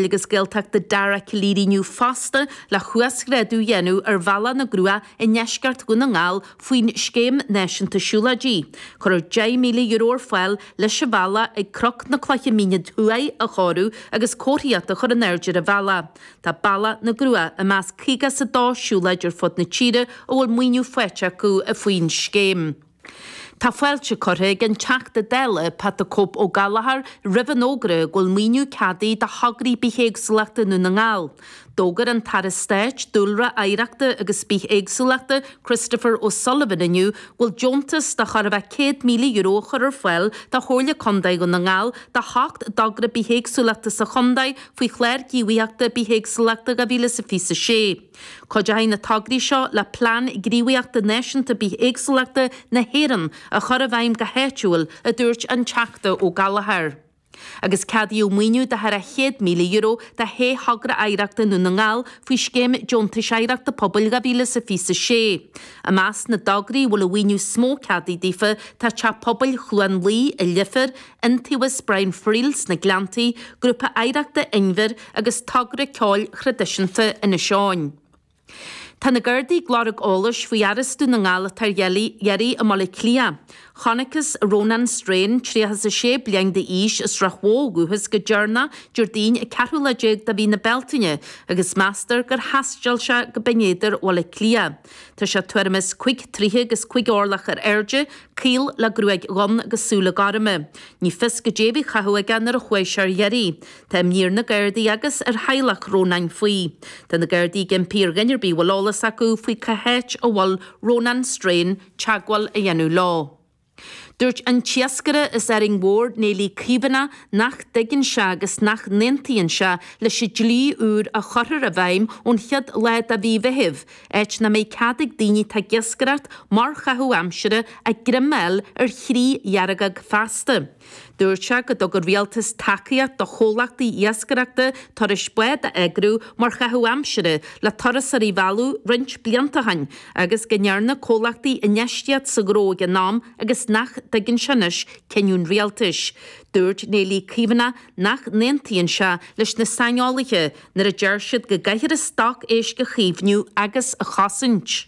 Pobail agus Gaeltachta Dara Calleary inniu fosta le huasghrádú a dhéanamh ar Bhealach na gCruach i ndeisceart Dhún na nGall faoin Scéim Náisiúnta Siúlóidí. Cuirfear €10,000 ar fáil leis an bhealach ag Cnoc na Cloiche Míne Thuaidh a chóiriú agus comharthaíocht a chur in airde ar an bhealach. Tá Bealach na gCruach i measc 52 siúlóid ar fud na tíre a bhfuil maoiniú faighte acu faoin scéim. Tá fáilte curtha ag an Teachta Dála, Pat the Cope Ó Gallchóir, roimh an fhógra go bhfuil maoiniú ceadaithe do thograí bithéagsúlachta i nDún na nGall. D'fhógair an tAire Stáit, Dúlra, Oidhreachta agus Bithéagsúlachta, Christopher O'Sullivan inniu go bhfuil deontas de chóir a bheith €100,000 á chur ar fáil do Chomhairle Contae Dhún na nGall do sheacht dtogra bithéagsúlachta sa chontae faoi Chlár Gníomhaíochta Bithéagsúlachta 2026. Cuideoidh na tograí seo le Plean Gníomhaíochta Náisiúnta Bithéagsúlachta na hÉireann a chur i bhfeidhm go háitiúil, a dúirt an Teachta Ó Gallchóir. Agus ceadaíodh maoiniú de thar a €100,000 do shé thogra oidhreachta i nDún na nGall faoi Scéim Deontais Oidhreachta Pobail 2026. I measc na dtograí a bhfuil an mhaoiniú is mó ceadaithe daofa tá Teach Pobail Chluain Laoi i Leifear, Iontaobhas Brian Friel sna Gleanntaí, Grúpa Oidhreachta Inbhir agus Togra Ceoil Thraidisiúnta Inis Eoghain. Tá na Gardaí ag lorg eolais faoi fhear as Dún na nGall atá ar iarraidh i mBaile Átha Cliath. Chonacthas Rónán Strain, 36 bliain d'aois, as Srath Mhóith ó dhúchas go deireanach Déardaoin an ceathrú lá déag de mhí na Bealtaine agus meastar gur thaistil sé go Binn Éadair Bhaile Átha Cliath. Tá sé tuairim is cuig troighe agus cuig orlach ar airde, caol le gruaig dhonn agus súile gorma. Ní fios goidé a bhí á chaitheamh aige nuair a chuaigh sé ar iarraidh. Tá imní ar na Gardaí agus ar theaghlach Rónáin faoi. Tá na Gardaí ag impí ar dhuine ar bith a bhfuil eolas acu faoi cá háit a bhfuil Rónán Strain teagmháil a dhéanamh leo. Dúirt an t-iascaire as Árainn Mhór, Néillí Caomhánach, nach dtuigeann sé agus nach n-aontaíonn sé leis an dlí úr a chuirfear i bhfeidhm ón chéad lá de mhí Mheithimh, áit nach mbeidh cead ag daoine atá ag iascaireacht mar chaitheamh aimsire a ngreim a fháil ar chriú dheargóg feasta. Dúirt sé go dtug an rialtas tacaíocht do chomhlachtaí iascaireachta turais bád a eagrú mar chaitheamh aimsire le turasóirí a mhealladh roinnt blianta ó shin agus go ndearna comhlachtaí infheistíocht sa ghnó ag an am agus nach dtuigeann sé anois cinneadh an rialtais. Dúirt Néillí Caomhánach nach n-aontaíonn sé leis na saineolaithe nuair a deir siad go gcaithfear an stoc éisc a chaomhnú agus a chosaint.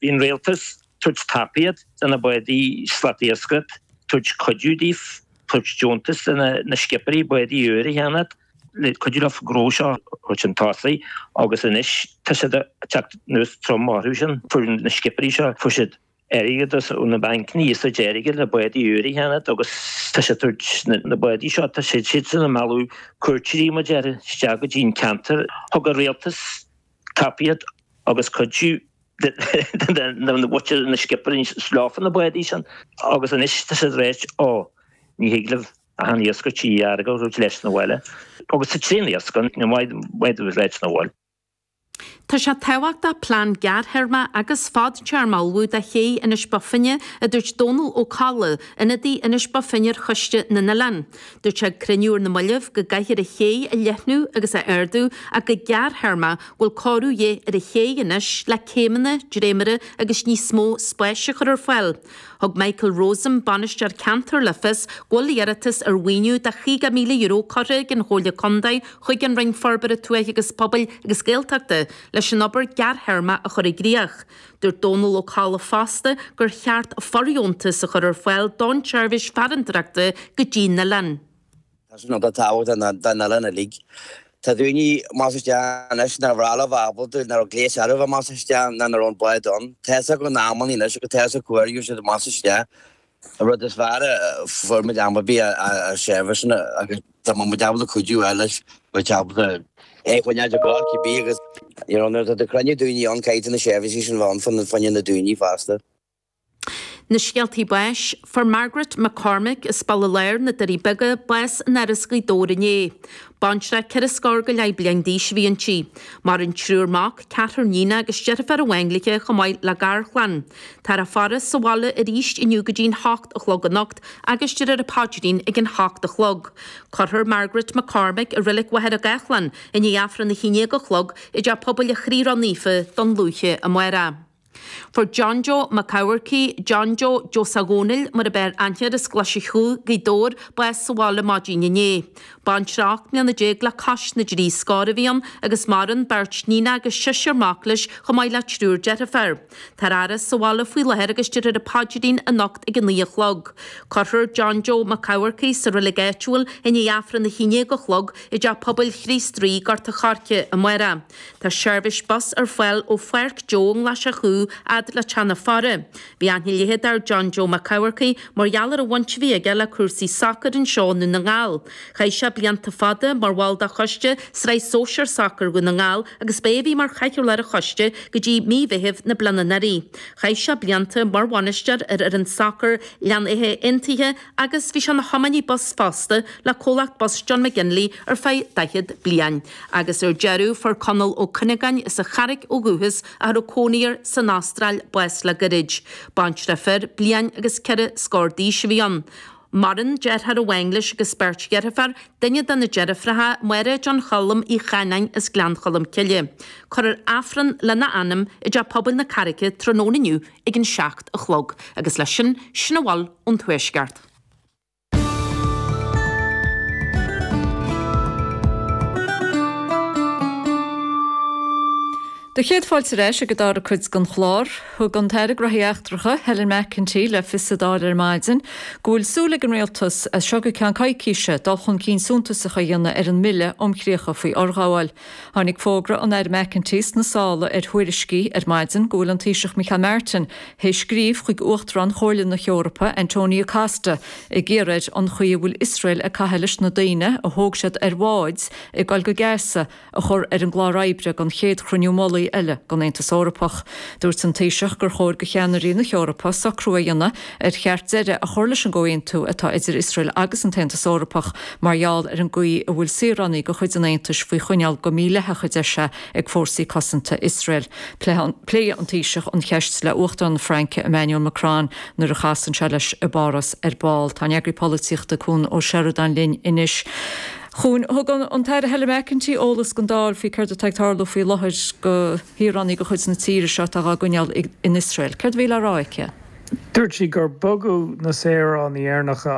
Bhí an rialtas tabhairt tacaíocht do na bádaí slatiascaireacht, tabhairt cuidiú daofa, tabhairt deontas do na scipeairí bádaí úr a cheannacht le cuidiú leo gnó seo a thabhairt chun tosaigh agus anois tá siad ag teacht anuas trom orthu sin. Fuair na scipeairí seo, fuair siad airgead ó na bancanna, iasacht airgid le bádaí úr a cheannacht agus tá siad tabhairt na bádaí seo, tá siad siadsan ag mealladh cuairteoirí mar a déarfá isteach go dtí an ceantar. Thug an rialtas tacaíocht agus cuidiú do na scipeairí leofa na bádaí sin agus anois tá siad ag ráit ó ní thig libh ach an iasc trí dhearg a thabhairt leis na bhaile agus tá tréan iasc ann ní maith dóibh leis na bhaile. Tá sé tábhachtach plean gearrthéarma agus fadtéarma a ullmhú do ché Inis Bó Finne, a dúirt Dónal Ó Colla, ionadaí Inis Bó Finne ar Choiste na nOileán. Dúirt sé ag cruinniú ar na mallaibh go gcaithfear an ché a leathnú agus a ardú ach go gearrthéarma go bhfuil cóiriú de dhíth ar an ché anois le céimeanna, dréimire agus níos mó spáis a chur ar fáil. Thug Michael Rosam, Bainisteoir Ceantair le fios go bhfuil iarratas ar mhaoiniú de €50,000 curtha ag an Chomhairle Contae chuig an Roinn Forbartha Tuaithe agus Pobail agus Gaeltachta leis an obair gearrthéarma a chur i gcrích. Dúirt Dónal Ó Colla fosta gur cheart fordheontas a chur ar fáil don tseirbhís farantóireachta go dtí an oileán. Tá sin iontach tábhachtach don oileán uilig. Tá daoine amach is isteach anois nár bhreá leo bheith ábalta, nach raibh gléas orthu bheith amach is isteach ná nach raibh an bád ann. Tá fhios acu na amannaí anois agus tá fhios acu cá huair a gheobhaidh siad amach is isteach. An rud is fearr a fuair muid am ar bith a seirbhíseanna agus dá mbeadh muid ábalta cuidiú a fháil leis, bheadh ábalta é a choinneáil ag gabháil cibé agus you know nuair atá tú ag cruinniú daoine ann caithfidh tú na seirbhísí sin bheith ann fá choinne na daoine fosta. Na scéaltaí báis, Fuair Margaret McCormick as Baile Láir, na Doirí Beaga, bás in Áras Ghaoth Dobhair inné. Baintreach ceithre scór go leith bliain d'aois a bhí inti. Maireann triúr mac, ceathrar níonach agus deirfiúr amháin léi chomh maith le garchlann. Táthar á faire sa bhaile arís inniu go dtí'n hocht a chlog anocht agus déarfar an paidrín ag an hocht a chlog. Cuirfear Margaret McCormick i Reilig Mhachaire Gathlán i ndiaidh Aifreann a haon déag a chlog i dTeach Pobail an Chroí Ró-Naofa, Dún Lúiche amárach. Fuair John Joe Mac Eamharcaigh, John Joe Joe Dhónaill mar ab fhearr aithne air as Glaise Chú, Gaoth Dobhair, bás sa bhaile maidin inné. Baintreach 18 mbliana le cois na dtrí scór a bhí ann agus maireann beirt níonacha agus seisear mac leis chomh maith le triúr deirfiúr. Táthar á fhaire sa bhaile faoi láthair agus déarfar an paidrín anocht ag a 9 a chlog. Cuirfear John Joe Mac Eamharcaigh sa reilig áitiúil i ndiaidh Aifreann a 11 a chlog i dTeach Pobail Chríost Rí, Gort a' Choirce, amárach. Tá seirbhís bus ar fáil ó Pháirc Joe i nGlais Chú fhad le Teach na Faire. Bhí aithne leithead ar John Joe Mac Eamharcaigh mar gheall ar an bhaint a bhí aige le cúrsaí sacair anseo i nDún na nGall. Chaith sé blianta fada mar bhall de choiste Sraith Sóisear Sacair Dhún na nGall agus b'é a bhí mar chathaoirleach ar an choiste go dtí mí Mheithimh na bliana anuraidh. Chaith sé blianta mar bhainisteoir ar fhoireann sacair Ghleann Fhithe Aontaithe agus bhí sé ina thiománaí bus fosta le comhlacht bus John McGinley ar feadh 40 bliain. Agus ar deireadh, fuair Conall Ó Cuinneagáin as an Charraic ó dhúchas ach a raibh cónaí air san Astráil bás le gairid. Baintreach fir, bliain agus ceithre scór d'aois a bhí ann. Maireann deartháir amháin leis agus beirt dheirfiúr, duine de na deirfiúracha, Máire John Choilm Uí Chanáin as Gleann Cholm Cille. Cuirfear Aifreann lena anam i dTeach Pobail na Carraice tráthnóna inniu ag an 7 a chlog. Agus leis sin, sin a bhfuil ón Tuaisceart. Do chéad fáilte ar ais ag an dara cuid den chlár. Thug an tAire Gnóthaí Eachtracha, Helen McEntee, le fios sa Dáil ar maidin go bhfuil súil ag an Rialtas, as seo go ceann coicíse, dul chun cinn suntasach a dhéanamh ar an mBille um Chríocha faoi Fhorghabháil. Tháinig fógra an Aire McEntee sna sála ar thuairiscí ar maidin go bhfuil an Taoiseach Micheál Martin théis scríobh chuig Uachtarán Chomhairle na hEorpa, Antonio Costa, ag iarraidh air an chaoi a bhfuil Iosrael ag caitheamh leis na daoine a thóg siad ar bháid ag dul go Gaza a chur ar an gclár oibre don chéad chruinniú mullaigh eile den Aontas Eorpach. Dúirt an Taoiseach gur chóir do cheannairí na hEorpa socrú a dhéanamh ar cheart deireadh a chur leis an gcomhaontú atá idir Iosrael agus an tAontas Eorpach mar gheall ar an gcaoi a bhfuil saoránaigh de chuid an Aontais faoi choinneáil go mídhleathach, a deir sé, ag fórsaí cosanta Iosrael. Pléifidh an Taoiseach an cheist le Uachtarán na Fraince Emmanuel Macron nuair a chasann sé leis i bPáras ar ball. Tá an Eagraí Polaitíochta Cuan Ó Seireadáin linn anois. Chuain, thug an tAire Helen McEntee eolas don Dáil faoi céard atá ag tarlú faoi láthair do shaoránaigh de chuid na tíre seo atá dhá gcoinneáil in Iosrael. Céard a bhí le rá aici? Dúirt sí gur bogadh na saoránaigh Éireannacha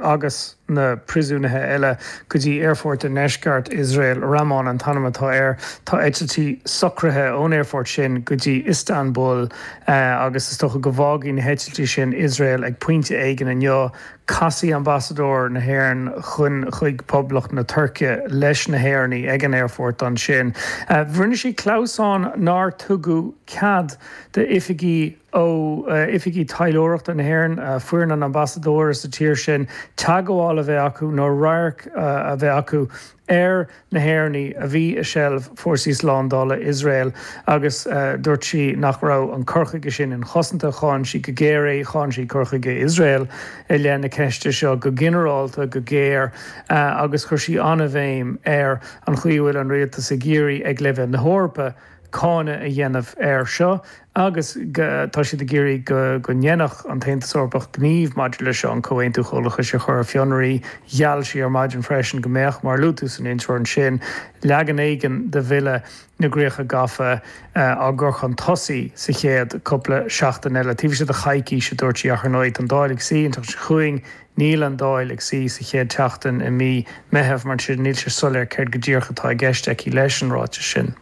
agus na príosúnaithe eile go dtí aerfort i ndeisceart Iosrael, Ramon an t-ainm atá air. Tá eitiltí socraithe ón aerfort sin go dtí Iostanbul agus is dócha go bhfágfaidh na heitiltí sin Iosrael ag pointe éigin inniu. Casfaidh ambasadóir na hÉireann chun chuig Poblacht na Tuirce leis na hÉireannaigh ag an aerfort ansin. Rinne sí clamhsán nár tugadh cead d'oifigí ó oifigí taidhleoireachta na hÉireann, foireann an ambasadóra sa tír sin, teagmháil a bheith acu nó radharc a bheith acu ar na hÉireannaigh a bhí i seilbh fórsaí slándála Iosrael agus dúirt sí nach raibh an cur chuige sin inchosanta. Cháin sí go géar é, cháin sí cur chuige Iosrael i leith na ceiste seo go ginearálta go géar agus chuir sí an-bhéim ar an chaoi a bhfuil an rialtas ag iarraidh ag leibhéal na hEorpa cáineadh a dhéanamh air seo agus tá siad ag iarraidh go ndéanfadh an tAontas Eorpach gníomh maidir leis seo, an Comhaontú Comhlachais a chur ar fionraí. Gheall sí ar maidin freisin go mbeadh, mar a luaigh tú san intro ansin, leagan éigin de bhille na gcríocha gafa á gcur chun tosaigh sa chéad cúpla seachtain eile. Taobh istigh de choicís, a dúirt sí, ach ar ndóigh tá an Dáil ag suí an tseachtain seo chugainn. Níl an Dáil ag suí sa chéad tseachtain i mí Meitheamh, mar sin níl sé soiléir céard go díreach atá i gceist aici leis an ráiteas sin.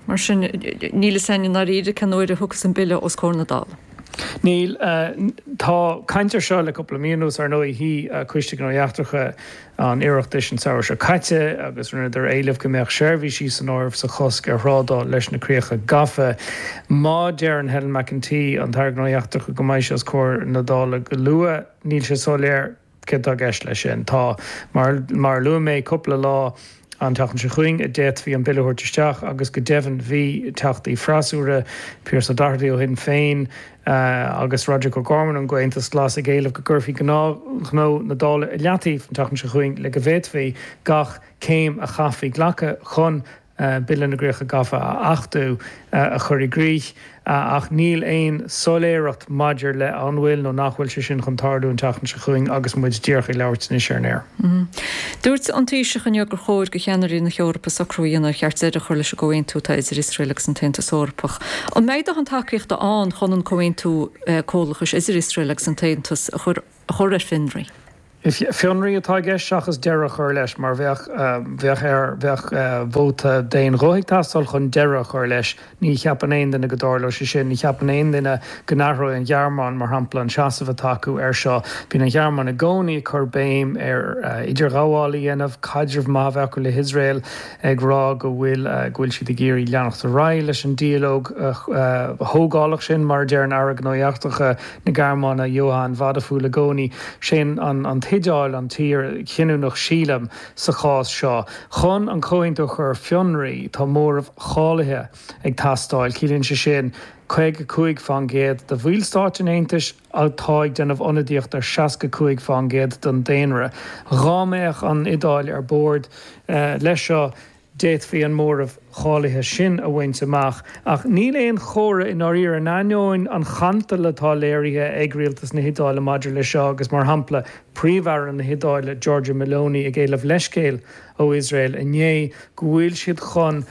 Mar sin, níl fhios againn i ndáiríre cén uair a thiocfas an bille os comhair na Dála. Níl. Tá caint air seo le cúpla mí anuas. Ar ndóigh, shuigh Coiste Gnóthaí Eachtracha an Oireachtais an samhradh seo caite agus rinneadar éileamh go mbeadh seirbhísí san áireamh sa chosc ar thrádáil leis na críocha gafa. Má deireann Helen McEntee, an tAire Gnóthaí Eachtracha, go mbeidh sé os comhair na Dála go luath, Níl sé soiléir céard atá i gceist leis sin. Tá, mar mar a luaigh mé, cúpla lá an tseachtain seo chugainn a d'fhéadfaí an bille a thabhairt isteach agus go deimhin bhí teachtaí freasúra, Pearse Doherty ó Shinn Féin agus Roderic O'Gorman ón gComhaontas Glas ag éileamh go gcuirfí gnáthghnó na Dála i leataobh an tseachtain seo chugainn le go bhféadfaí gach céim a chaithfí glacadh chun. Bille na gCríocha Gafa a achtú, a chur i gcrích, ach níl aon soiléireacht maidir le an bhfuil nó nach bhfuil sé sin chun tarlú an tseachtain seo chugainn agus muid díreach ag labhairt anois ar an aer. Dúirt an Taoiseach inniu gur chóir do cheannairí na hEorpa socrú a dhéanamh ar cheart deireadh a chur leis an gcomhaontú atá idir Iosrael agus an tAontas Eorpach. An mbeidh dóthain tacaíochta ann chun an comhaontú comhlachais idir Iosrael agus an tAontas a chur ar fionraí? Fionraí atá i gceist seachas deireadh a chur leis, mar bheadh, bheadh air, bheadh vóta d'aon ghuth ag teastáil chun deireadh a chur leis. Ní cheapann aon duine go dtarlóidh sé sin. Ní cheapann aon duine go n-athróidh an Ghearmáin, mar shampla, an seasamh atá acu air seo. Bíonn an Ghearmáin i gcónaí ag cur béim ar idirghabháil a dhéanamh, caidreamh maith a bheith acu le hIosrael, ag rá go bhfuil, go bhfuil siad ag iarraidh leanacht ar aghaidh leis an dialóg thógálach sin, mar a deir an Aire Gnóthaí Eachtracha. na Gearmáine, Johann Wadephul i gcónaí. Sé an tIodáil an tír chinniúnach sílim sa chás seo. Chun an comhaontú a chur ar fionraí tá móramh cháilithe ag teastáil. Ciallaíonn sé sin 55% de bhallstáit an Aontais atá ag déanamh ionadaíocht ar 65% den daonra. Dhá mbeadh an Iodáil ar bord leis seo, D'fhéadfaí an móramh cháilithe sin a bhaint amach, ach níl aon chomhartha i ndáiríre, in ainneoin an chantail atá léirithe ag rialtas na hIodáile maidir leis seo agus, mar shampla, Príomh-Aire na hIodáile, Giorgia Meloni, ag éileamh leithscéil ó Iosrael inné, go bhfuil siad chun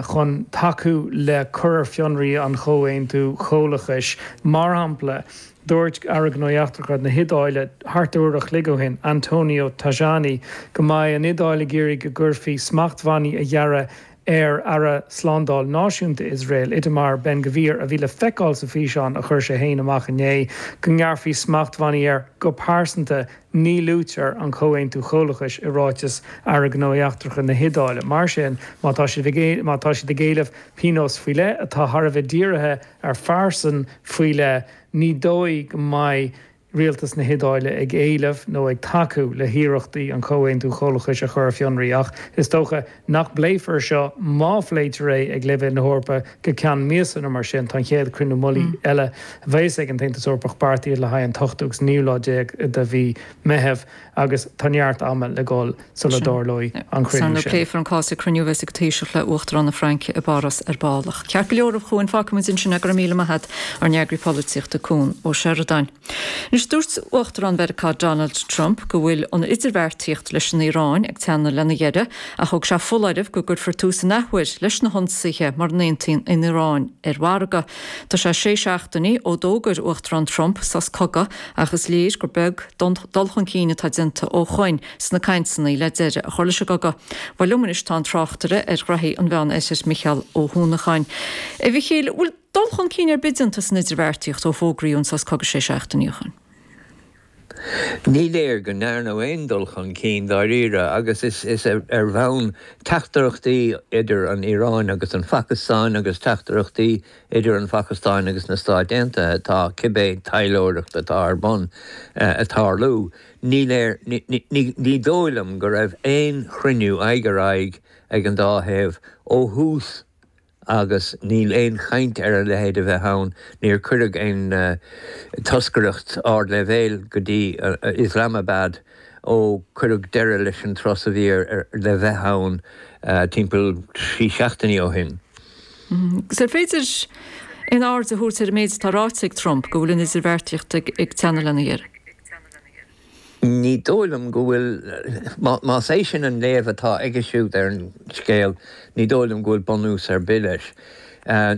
chun tacú le cur ar fionraí an chomhaontú chomhlachais. Mar shampla. Dúirt Aire Gnóthaí Eachtracha na hIodáile thart ar uair a chloig ó shin, Antonio Tajani, go mbeidh an Iodáil ag iarraidh go gcuirfí smachtbhannaí a ghearradh ar Aire Slándáil Náisiúnta Iosrael, Itamar Ben-Gvir, a bhí le feiceáil sa bhfíseán a chuir sé féin amach inné, go ngearrfaí smachtbhannaí air go pearsanta. Ní luaitear an Comhaontú Comhlachais i ráiteas Aire Gnóthaí Eachtracha na hIodáile. Mar sin, má tá siad má tá siad ag éileamh pionós faoi leith atá thar a bheith dírithe ar phearsan faoi leith, ní dóigh go mbeidh rialtas na hIodáile ag éileamh nó ag tacú le hiarrachtaí an Comhaontú Comhlachais a chur ar fionraí. Ach is dócha nach bpléifear seo, má phléitear é, ag leibhéal na hEorpa go ceann míosa nó mar sin. Tá an chéad chruinniú mullaigh eile a bheas ag an tAontas Eorpach beartaithe le haghaidh an t-ochtú agus naoú lá déag de mhí Meitheamh agus tá neart ama le dhul sula dtarlóidh an cruinniú sin. Pléifear an cás ag cruinniú a bheas ag an Taoiseach le Uachtarán na Fraince i bPáras ar ball. Ceart go leor a Chuain, fágfaidh muid ansin é, go raibh míle maith agat, ár n-eagraí polaitíochta Cuan Ó Seireadáin. Anois, dúirt Uachtarán Mheiriceá Donald Trump go bhfuil an idirbheartaíocht leis an Iaráin ag teannadh lena dheireadh ach thug sé foláireamh go gcuirfear tús an athuair leis na hionsaithe mura n-aontaíonn an Iaráin ar mhargadh. Tá sé sé seachtainí ó d'fhógair Uachtarán Trump sos cogaidh Ach is léir gur beag dul chun cinn atá déanta ó shoin sna cainteanna le deireadh a chur leis an gcogadh. Bhuel, liom anois tá an tráchtaire ar ghraithí an Mheán-Oirthir, Micheál Ó hUanacháin. A Mhichíl, bhfuil dul chun cinn ar bith déanta san idirbheartaíocht ó fógraíodh an sos cogaidh sé seachtainí ó shoin? Ní léir go ndearnadh aon dul chun cinn dáiríre agus is ar bhonn teachtaireachtaí idir an Iaráin agus an Phacastáin agus teachtaireachtaí Idir an Phacastáin agus na Stáit Aontaithe atá cibé taidhleoireacht atá ar bun ag tarlú. Ní léir, ní dóigh liom go raibh aon chruinniú aghaidh ar aghaidh ag an dá thaobh ó thús agus níl aon chaint ar a leithéid a bheith ann. Níor cuireadh aon toscaireacht ardleibhéil go dtí Islamabad ó cuireadh deireadh leis an tsos a bhí le bheith ann timpeall trí seachtainí ó shin. Agus ar féidir aon aird a thabhairt ar an méid atá ráite ag Trump, go bhfuil an idirbheartaíocht ag teannadh lena dheireadh? Ní dóigh liom go bhfuil. Más é sin an léamh atá aige siúd ar an scéal, ní dóigh liom go bhfuil bunús ar bith leis.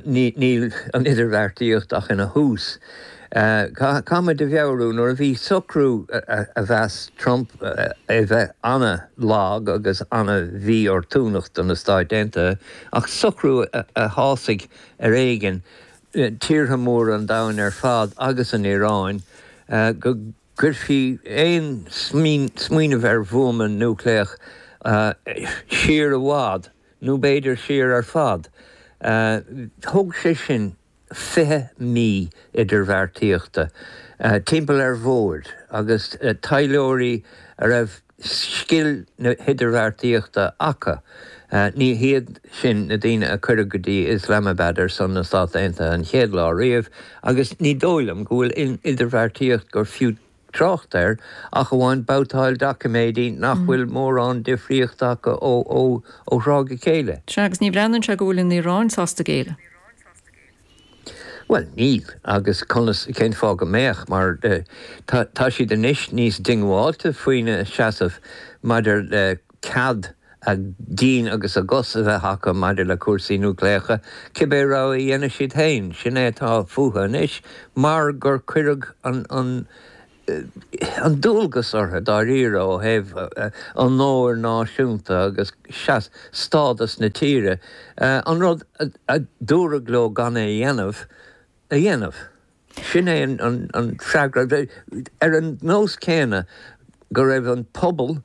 Níl an idirbheartaíocht ach ina thús. Caithfimid a mheabhrú, nuair a bhí socrú a mheas Trump a bheith an-lag agus an-mhíoportúnach do na Stáit Aontaithe, ach socrú a shásaigh ar éigean tíortha móra an domhain ar fad agus an Iaráin, go gcuirfí aon smaoineamh ar bhuama núicléach siar i bhfad, nó b'fhéidir siar ar fad. Thóg sé sin 20 mí idirbheartaíochta timpeall ar bhoird agus taidhleoirí a raibh scil na hidirbheartaíochta acu. Ní hiad sin na daoine a cuireadh go dtí Islamabad ar son na Stát Aontaithe an chéad lá riamh agus ní dóigh liom go bhfuil aon idirbheartaíocht gur fiú. trácht air ach amháin babhtáil doiciméidí nach bhfuil mórán difríochta acu ó thráth go chéile. Sea, agus ní bhreathnaíonn sé go bhfuil an Iaráin sásta géilleadh. Bhuel, níl, agus conas, cén fáth go mbeadh, mar tá, tá siad anois níos diongbháilte faoina seasamh maidir le cead a gcinn agus a gcos a bheith acu maidir le cúrsaí núicléacha, cibé rogha a dhéanfaidh siad féin, sin é atá fúthu anois, mar gur cuireadh an, an, an dualgas orthu dáiríre ó thaobh onóir náisiúnta agus stádas na tíre, an rud a dúradh leo gan é a dhéanamh, a dhéanamh. Sin é an freagra. Ar an nós céanna go raibh an pobal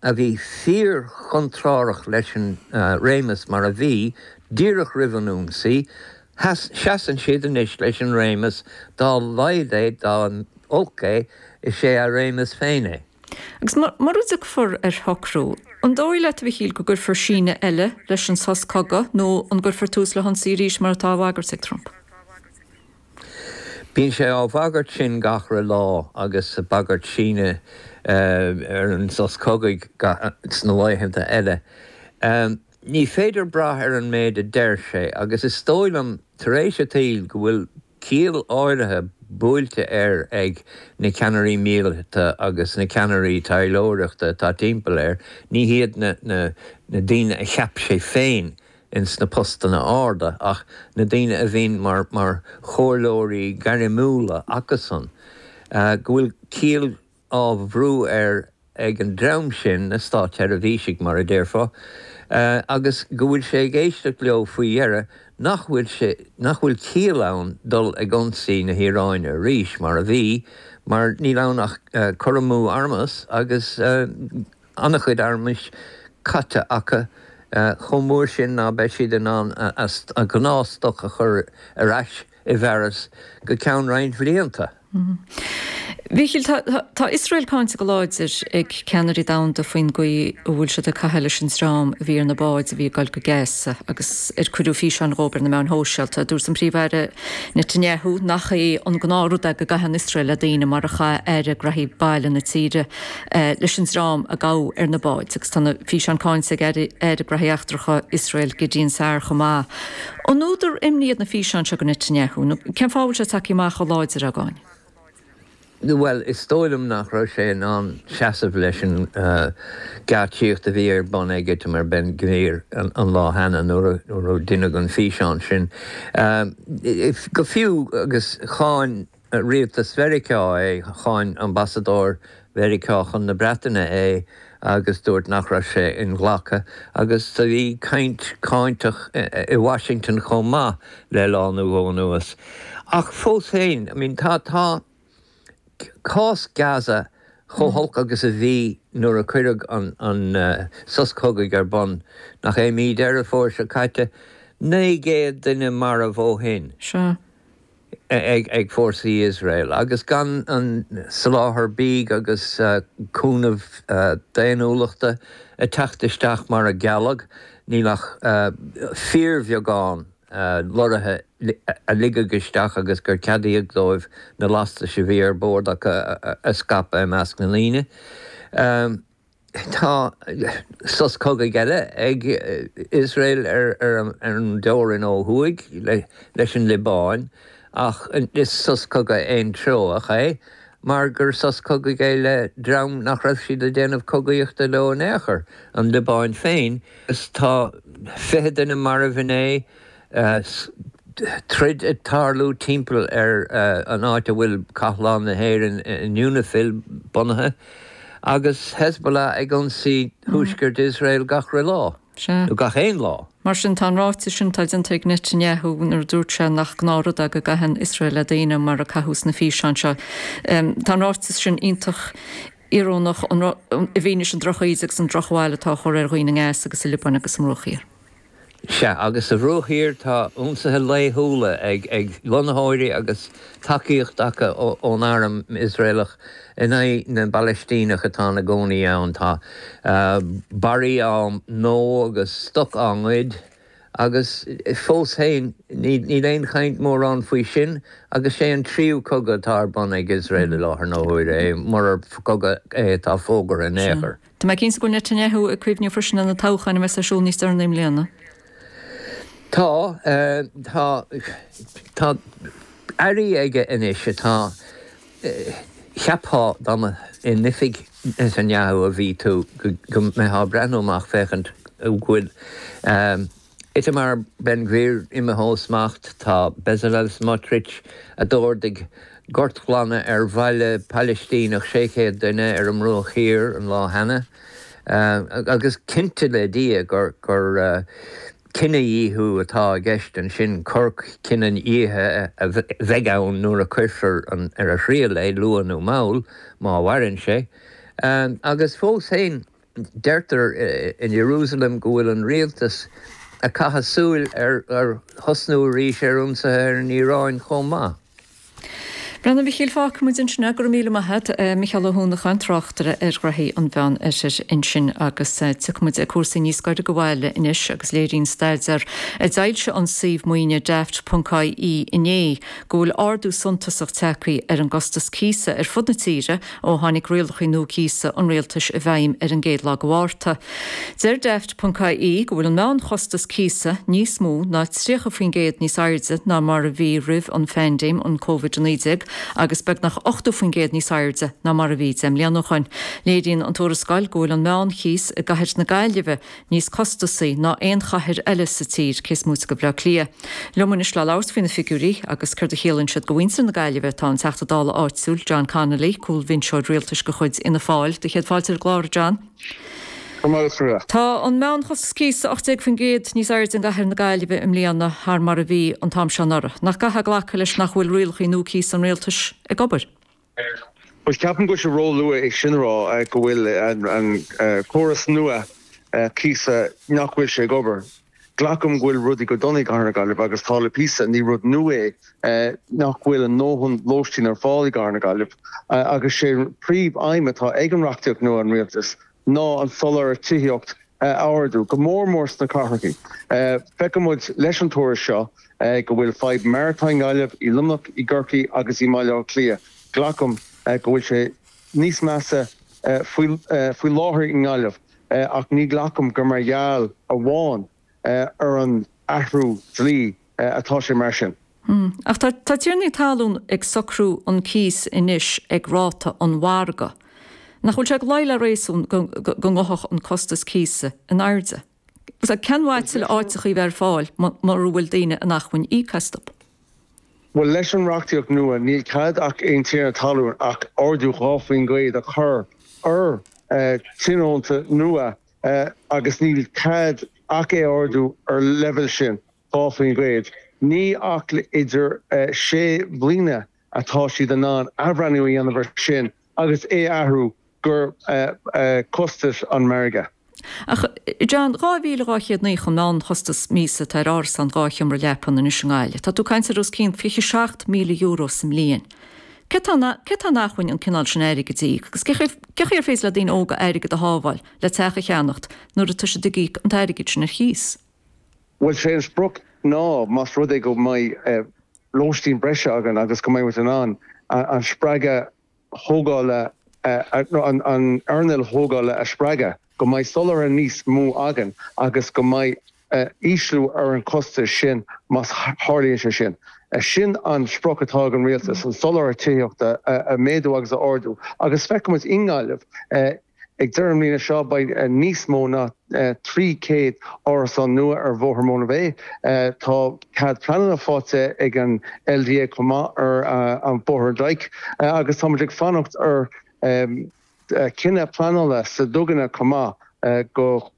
a bhí fíorchontrárach leis an réimeas mar a bhí díreach roimh an ionsaí, seasann siad anois leis an réimeas, dá laghad é, dá olc é, is é a réimeas féin é. Agus mura dtiocfar ar shocrú, an dóigh leat, a Mhichíl, go gcuirfear síneadh eile leis an sos cogaidh nó an gcuirfear tús le hionsaí arís mar atá á bhagairt ag Trump? Bíonn sé á bhagairt sin gach re lá agus ag bagairt síneadh ar an sos cogaidh sna laethanta eile. Ní féidir brath ar an méid a deir sé agus is dóigh liom tar éis an tsaoil go bhfuil ciall áirithe buailte air ag na ceannairí míleata agus na ceannairí taidhleoireachta atá timpeall air, ní hiad na daoine a cheap sé féin ins na postanna arda ach na daoine a bhíonn mar mar chomhairleoirí gairmiúla acusan, go bhfuil ciall á bhrú air ag an dream sin, na státseirbhísigh mar a déarfá, agus go bhfuil sé ag éisteacht leo faoi dheireadh nach bhfuil sé, nach bhfuil ciall ann dul ag ionsaí na hIaráine arís mar a bhí, mar níl ann ach cur amú armas agus. an-chuid armais caite acu, chomh mór sin ná beidh siad in ann a ngnáthstoc a chur ar ais i bhfearas go ceann roinnt bhlianta. Mhíchíl, tá Iosrael cáinte go láidir ag ceannairí domhanda faoin gcaoi a bhfuil siad ag caitheamh leis an dream a bhí ar na báid a bhí ag dul go Gaza agus ar cuireadh físeáin dhóibh ar na meáin shóisialta. Dúirt an Príomh-Aire Netanyahu nach é an gnáthrud é go gcaitheann Iosrael le daoine mar a chaith Aire Graithí Baile na tíre leis an dream a gabhadh ar na báid agus tá na físeáin cáinte ag Aire Graithí Eachtracha Iosrael Gideon Sa'ar chomh maith. An údar imní iad na físeáin seo do Netanyahu nó cén fáth a bhfuil sé tagtha amach chomh láidir á gcáineadh? Bhuel, is dóigh liom nach raibh sé in ann seasamh leis an gceáitsíocht a bhí ar bun ag Itamar Ben Gvir an lá cheana nuair a deineadh an físeán sin. Go fiú agus cháin rialtas Mheiriceá é, cháin ambasadóir Mheiriceá chun na Breataine é agus dúirt nach raibh sé inghlactha agus bhí caint cáinteach i Washington chomh maith le lá nó dhó anuas. Ach fós féin, I mean tá, tá cás Gaza chomh holc agus a bhí nuair a cuireadh an, an sos cogaidh ar bun, nach é mí Deireadh Fómhair seo caite, 900 duine marbh ó shin. Sea. ag fórsaí Iosrael agus gan an soláthar bídh agus cúnamh daonnúlachta ag teacht isteach mar a gealladh, níl ach fíorbheagán lorraithe a ligeadh isteach agus gur ceadaíodh dóibh na lastais a bhí ar bord acu a scaipeadh i measc na ndaoine. Tá sos cogaidh eile ag Iosrael ar an dteorainn ó thuaidh leis an Liobáin ach is sos cogaidh aontreoach é mar gur sos cogaidh é le dream nach raibh siad ag déanamh cogaíochta leo in aon chor, an Liobáin féin. Tá 20 duine marbh inné. Troid ag tarlú timpeall ar an áit a bhfuil Cathlán na hÉireann in Unifil bunaithe, agus Hezbollah ag ionsaí thuaisceart Iosrael gach re lá, nó gach aon lá. Mar sin, tá an ráiteas sin atá déanta ag Netanyahu nuair a dúirt sé nach gnáthrud é go gcaitheann Iosrael le daoine mar a caitheadh sna físeáin seo, tá an ráiteas sin iontach íorónach i bhfianaise an drochíde agus an drochbhail atá á chur ar dhaoine i nGaza agus sa Liobáin agus sa mBruach Thiar. Sea, agus sa Bhruach Thiar tá ionsaithe laethúla ag lonnaitheoirí agus tacaíocht acu ón arm Iosraelach in aghaidh na bPalaistíneach atá ina gcónaí ann. Tá barraí á ndó agus stoc á ngoid. Agus fós féin, níl aon chaint mórán faoi sin, agus sé an tríú cogadh atá ar bun ag Iosrael i láthair na huaire é, murar cogadh é atá fógartha in aon chor. Tá mé cinnte go bhfuil Netanyahu ag cuimhneamh freisin ar na toghcháin a bheas ar siúl níos deireanaí i mbliana. Tá, tá, tá airí aige anois atá, cheapfá dá mba in oifig Netanyahu a bhí tú go mbeifeá ag breathnú amach féachaint go bhfuil Itamar Ben Gvir imithe ó smacht, tá Bezalel Smotrich, a d'ordaigh gortghlanadh ar bhaile Palaistíneach 600 duine ar an mBruach Thiar an lá cheana, agus cinnte le Dia gur cinedhíothú atá i gceist ansin, cor cinedhíothaithe a bheidh ann nuair a cuirfear ar a thriail é, luath nó mall, má mhaireann sé. Agus fós féin. Deirtear in Ierúsalem go bhfuil an rialtas ag caitheamh súil ar thosnú arís ar ionsaithe ar an Iaráin chomh maith. Bhuel, a Mhichíl, fágfaidh muid ansin é. Go raibh míle maith agat. Micheál Ó hUanacháin, tráchtaire ar ghnoithí an Mheán Oirthir ansin. Agus tiocfaidh muid ag cúrsaí níos gaire do bhaile anois agus léiríonn staidéar a d'fhoilsigh an suíomh maoine Daft ponc ie inné go bhfuil ardú suntasach tagtha ar an gcostas cíosa ar fud na tíre ó tháinig rialacha nua cíosa an rialtais i bhfeidhm ar an gcéad lá de Mhárta. Deir Daft ponc ie go bhfuil an meánchostas cíosa níos mó ná 30% níos airde ná mar a bhí roimh an phaindéim an Covid-19 agus beagnach 80% níos airde ná mar a bhí 10 mbliana ó shoin. Léiríonn an tuarascáil go bhfuil an meánchíos i gcathair na Gaillimhe níos costasaí ná aon chathair eile sa tír, cé is móite de Bhaile Átha Cliath. Liom anois le labhairt faoi na figiúirí agus céard a chiallaíonn siad do mhuintir na Gaillimhe tá an Teachta Dála áitiúil, John Connolly, cúlbhinseoir rialtais de chuid Fhianna Fáil. Do chéad fáilte ar an gclár, a John. Go raibh maith agat, a Mháire. Tá an meánchostas cíosa 18% níos airde i gcathair na Gaillimhe i mbliana thar mar a bhí an t-am seo anuraidh. Nach gcaithfeá glacadh leis nach bhfuil rialacha nua cíosa an rialtais ag obair? Bhuel, ceapaim go bhfuil sé róluath é sin a rá, go bhfuil an córas nua cíosa, nach bhfuil sé ag obair. Glacaim go bhfuil rudaí go dona i gCathair na Gaillimhe agus tá le píosa, ní rud nua é nach bhfuil a ndóthain lóistín ar fáil i gCathair na Gaillimhe agus sé an príomh-aidhm atá ag an reachtaíocht nua an Rialtais ná an soláthar tithíocht a ardú, go mór mór sna cathracha. Feiceann muid leis an tuairisc seo go bhfuil fadhb mar atá i nGaillimh, i Luimneach, i gCorcaigh agus i mBaile Átha Cliath. Glacaim go bhfuil sé níos measa faoi láthair i nGaillimh ach ní ghlacaim gur mar gheall amháin ar an athrú dlí atá sé mar sin. Ach tá tiarnaí talún ag socrú an cíos anois ag ráta an mhargaidh. Nach bhfuil sé ag luí le réasún go ngabhfadh an costas cíosa in airde? Cén mhaith tuilleadh áiteachaí a bheith ar fáil mura bhfuil daoine in acmhainn íoc astu? Bhuel, leis an reachtaíocht nua, níl cead ag aon tiarna talún ach ardú 2% a chur ar tionónta nua agus níl cead ach é a ardú ar leibhéal sin, 2%. Ní ach idir sé bhliana atá siad in ann athbhreithniú a dhéanamh ar sin agus é a athrú go costas an mhargaidh. Ach, John, 2,290 an meánchostas míosa atá ar árasán 2 sheomra leapan anois i nGaillimh. Tá tú ag caint ar os cionn €27,000 sa mbliain. Cé atá cé atá in acmhainn an cineál sin airgid a íoc? Agus cé chaoi ar féidir le daoine óga airgead a shábháil le teach a cheannacht nuair atá siad ag íoc an t-airgead sin ar chíos? Bhuel, sé an sprioc ná más rud é go mbeidh lóistín breise againn agus go mbeidh muid in ann an spreagadh thógála, an earnáil thógála a spreagadh, go mbeidh soláthar níos mó againn agus go mbeidh ísliú ar an chostas sin más tharlaíonn sé sin. Sin an sprioc atá ag an rialtas, an soláthar tithíochta a mhéadú agus a ardú agus feicfimid i nGaillimh Ag deireadh na bliana seo beidh níos mó ná 300 árasán nua ar Bhóthar Móna Bhé. Tá cead pleanála faighte ag an LDA chomh maith ar an Bóthar Dyke agus tá muid ag fanacht ar chinneadh pleanála sa Duganna chomh maith go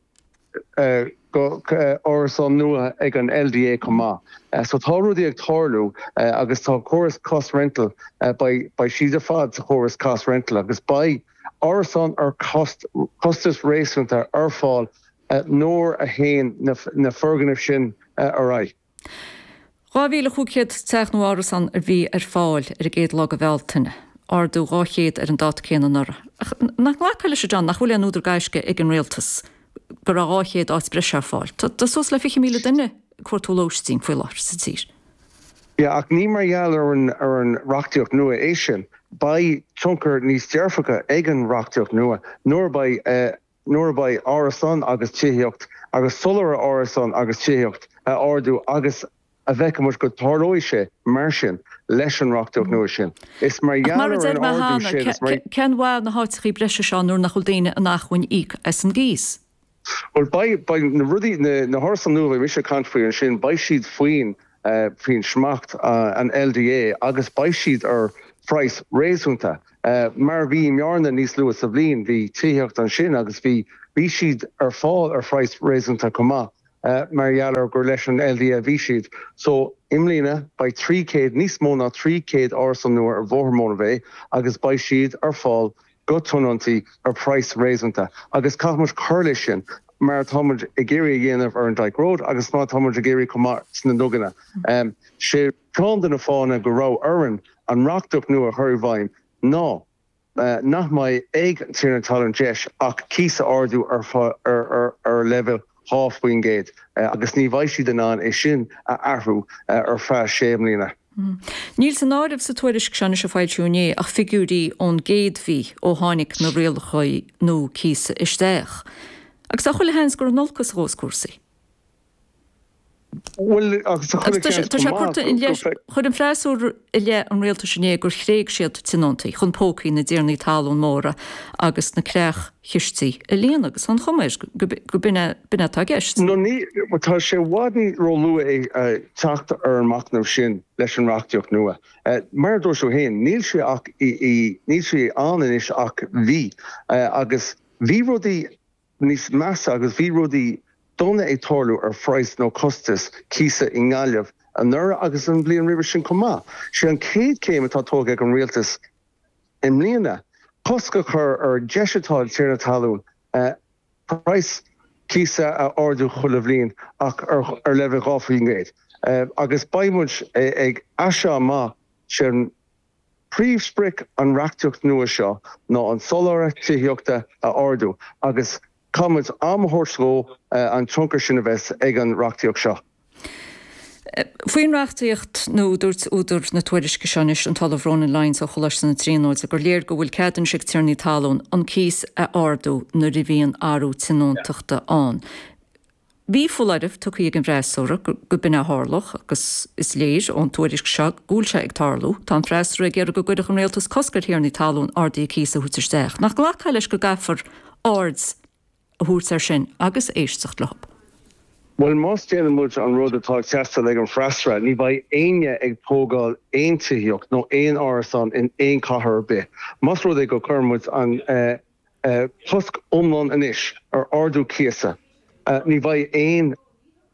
go árasán nua ag an LDA chomh maith. So tá rudaí ag tarlú agus tá córas cost rental, beidh siad ar fad sa chóras cost rental agus beidh árasán ar costas réasúnta ar fáil nuair a théann na foirgnimh sin ar aghaidh. 2,500 teach nó árasán a bhí ar fáil ar an gcéad lá de Bhealtaine, ardú 200 ar an dáta céanna anuraidh. Ach nach nglacfá leis, a John, nach bhfuil aon údar gaisce ag an rialtas go raibh 200 áit breise ar fáil? Tá suas le 20,000 duine. cuartú lóistín faoi láthair sa tír. Yeah, ach ní mar gheall ar an ar an reachtaíocht nua é sin. Beidh tionchar níos dearfacha ag an reachtaíocht nua nuair a beidh nuair a beidh árasán agus tithíocht agus soláthar árasán agus tithíocht a ardú agus a bhfeicfidh muid go dtarlóidh sé mar sin leis an reachtaíocht nua sin. Is mar Ach gheall mar a ar deir an mé ardú cheana, sin, is mar. cén mhaith na háiteachaí breise seo nuair nach bhfuil daoine in acmhainn íoc as an gcíos? Bhuel, beidh, beidh na rudaí, na, na hárasáin nua a bheidh mise ag caint faoi ansin, beidh siad faoin, faoin smacht an LDA agus beidh siad ar phraghas réasúnta. Mar a bhí i mBearna níos luaithe sa bhliain, bhí tithíocht ansin agus bhí, bhí siad ar fáil ar phraghas réasúnta chomh maith. mar gheall ar gur leis an LDA a bhí siad. So, i mbliana, beidh 300, níos mó ná 300 árasán nua ar Bhóthar Mona Bhé agus beidh siad ar fáil do tionóntaí ar phraghas réasúnta. Agus caithfidh muid cur leis sin, mar atá muid ag iarraidh a dhéanamh ar an Dyke Road agus mar atá muid ag iarraidh chomh maith sna Duganna. Sé ceann de na fáthanna go raibh orainn an reachtaíocht nua a chur i bhfeidhm ná, nach mbeidh ag an tiarna talún deis ach cíos a ardú ar leibhéal 2% agus ní bheidh siad in ann é sin a athrú ar feadh sé mbliana. Níl san áireamh sa tuairisc seo anois a foilsíodh inné ach figiúirí ón gcéad mhí ó tháinig na rialacha nua cíosa isteach. Agus tá chuile sheans gur in olcas a ghabhfas cúrsaí. Bhuel, agus tá chuile sheans Tá sé curtha i leith, chuir an freasúra i leith an rialtais inné gur thréig siad tionóntaí chun pócaí na dtiarnaí talún móra agus na creach-chistí a líonadh agus tá an chuma air go b'in é atá i gceist. No ní, tá sé i bhfad ní ró-luath é teacht ar an machnamh sin leis an reachtaíocht nua. Mar a dúirt tú féin, níl sé ach, níl sé ann anois ach mhí agus bhí rudaí, níos measa agus bhí rudaí dona ag tarlú ar phraghas nó costas cíosa i nGaillimh anuraidh agus an bhliain roimhe sin chomh maith. Sé an chéad chéim atá tógtha ag an Rialtas i mbliana cosc a chur ar dheis atá ag tiarna talún praghas cíosa a ardú chuile bhliain ach ar leibhéal 2% agus beidh muid ag as seo amach sé an Príomhsprioc an reachtaíocht nua seo ná an soláthar tithíochta a ardú agus caithfidh muid am a thabhairt dhó an tionchar sin a bheas ag an reachtaíocht seo. Faoin reachtaíocht nua, dúirt údar na tuairisce seo anois, an tOllamh Ronan Lyons ó Choláiste na Tríonóide, gur léir go bhfuil cead anois ag tiarnaí talún an cíos a ardú nuair a bhíonn athrú tionóntachta ann. Bhí foláireamh tugtha ag an bhfreasúra go b'in a tharlódh agus is léir ón tuairisc seo go bhfuil sé ag tarlú. Tá an freasúra ag iarraidh go gcuirfeadh an rialtas cosc ar thiarnaí talún arduithe cíosa a thabhairt isteach. Nach nglacfá leis go gcaithfear aird a thabhairt air sin agus éisteacht leo? Bhuel, más déanann muid an rud atá ag teastáil ag an bhfreasúra, ní bheidh éinne ag tógáil aon tithíocht nó aon árasán in aon chathair ar bith. Más rud é go gcuireann muid an. cosc iomlán anois ar ardú cíosa. Ní bheidh aon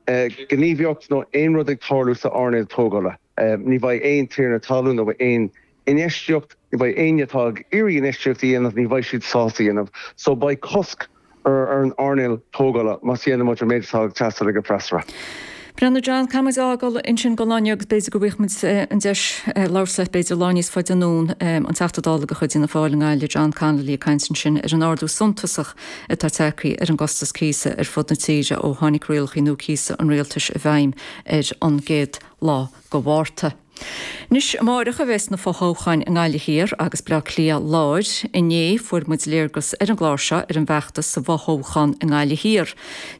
ghníomhaíocht nó aon rud ag tarlú sa earnáil tógála. Ní bheidh aon tiarna talún nó aon infheistíocht, ní bheidh éinne atá ag iarraidh infheistíocht a dhéanamh, ní bheidh siad sásta a dhéanamh. So beidh cosc ar an earnáil tógála más dhéanann muid an méid atá ag teastáil ag an bhfreasúra. Bhuel a John, caithfidh muid a fhágáil ansin don lá inniu agus b'fhéidir go bhfaighidh muid an deis labhairt leat b'fhéidir lá níos faide anonn. An Teachta Dála de chuid Fhianna Fáil i nGaillimh, John Connolly ag caint ansin ar an ardú suntasach atá tagtha ar an gcostas cíosa ar fud na tíre ó tháinig rialacha nua cíosa an rialtais i bhfeidhm ar an gcéad lá de Mhárta. Anois, amáireach a bheas na fothoghcháin i nGaillimh Thiar agus Bleá Cliath Láir. Inné, fuair muid léargas ar an gclár seo ar an bhfeachtas sa bhfothoghchán i nGaillimh Thiar.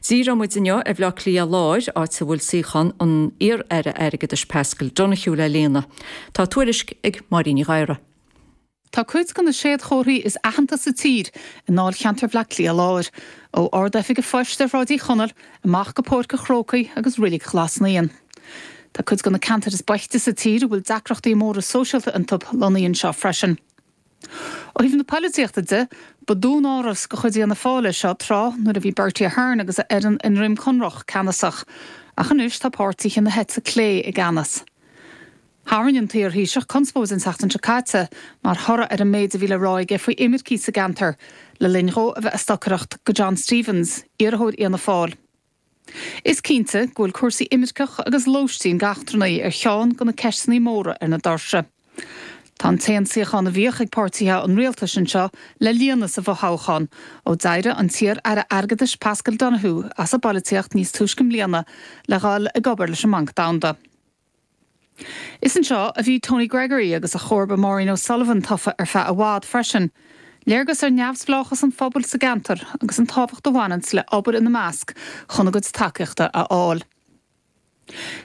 Díreoidh muid inniu ar Bhleá Cliath Láir, áit a bhfuil suíochán an iar-aire airgeadais Paschal Donohoe le líonadh. Tá tuairisc ag Máirín Ní Ghadhra. Tá cuid de na séadchomharthaí is aitheanta sa tír i ndáilcheantar Bhleá Cliath Láir, ó Ard-Oifig an Phoist ar Shráid Uí Chonaill amach go Páirc an Chrócaigh agus Reilig Ghlas Naíon. Tá cuid de na ceantair is boichte sa tír a bhfuil deacrachtaí móra sóisialta iontu lonnaithe anseo freisin. Ó thaobh na poilitíochta de, ba dúnáras de chuid Fhianna Fáil é seo tráth nuair a bhí Bertie Ahern agus a fhoireann i nDroim Conrach ceannasach, ach anois tá páirtithe na heite clé i gceannas. Tharraing an t-iar-Thaoiseach conspóid an tseachtain seo caite mar thoradh ar an méid a bhí le rá aige faoi imircigh sa gceantar le linn dhó a bheith ag stocaireacht do John Stephens, iarrthóir Fhianna Fáil. Is cinnte go bhfuil cúrsaí imirceach agus lóistín d'eachtrannaigh ar cheann de na ceisteanna móra ar na doirse. Tá an t-aon suíochán a bhíodh ag páirtithe an rialtais anseo le líonadh sa bhfothoghchán ó d'éirigh an t-iar-aire airgeadais Paschal Donohoe as an bpolaitíocht níos túisce i mbliana le dhul ag obair leis an mBanc Domhanda. Is anseo a bhí Tony Gregory agus a chomharba Maureen O'Sullivan tofa ar feadh i bhfad freisin. Léargas ar neamhspleáchas an phobail sa gceantar agus an tábhacht a bhaineanns le obair ina measc chun a gcuid tacaíochta a fháil.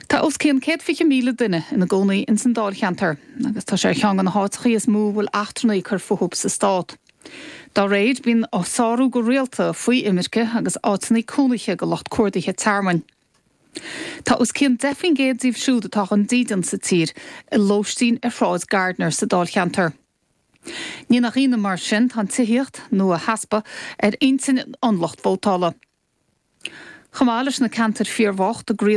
Tá os cionn 120,000 duine ina gcónaí ins an dáilcheantar agus tá sé ar cheann de na háiteachaí is mó a bhfuil eachtrannaigh ag cur fúthub sa stát. Dá réir, bíonn sárú go rialta faoi imirce agus áiteannaí cónaithe go lucht cuardaithe tearmainn. Tá os cionn 10% díobh siúd atá gan dídean sa tír i lóistín ar Shráid Gardiner sa dáilcheantar. Ní nach ionadh mar sin, tá an tithíocht, nó a heaspa, ar intinn an lucht vótála. Chomh maith leis na ceantair fíorbhocht i gcroí.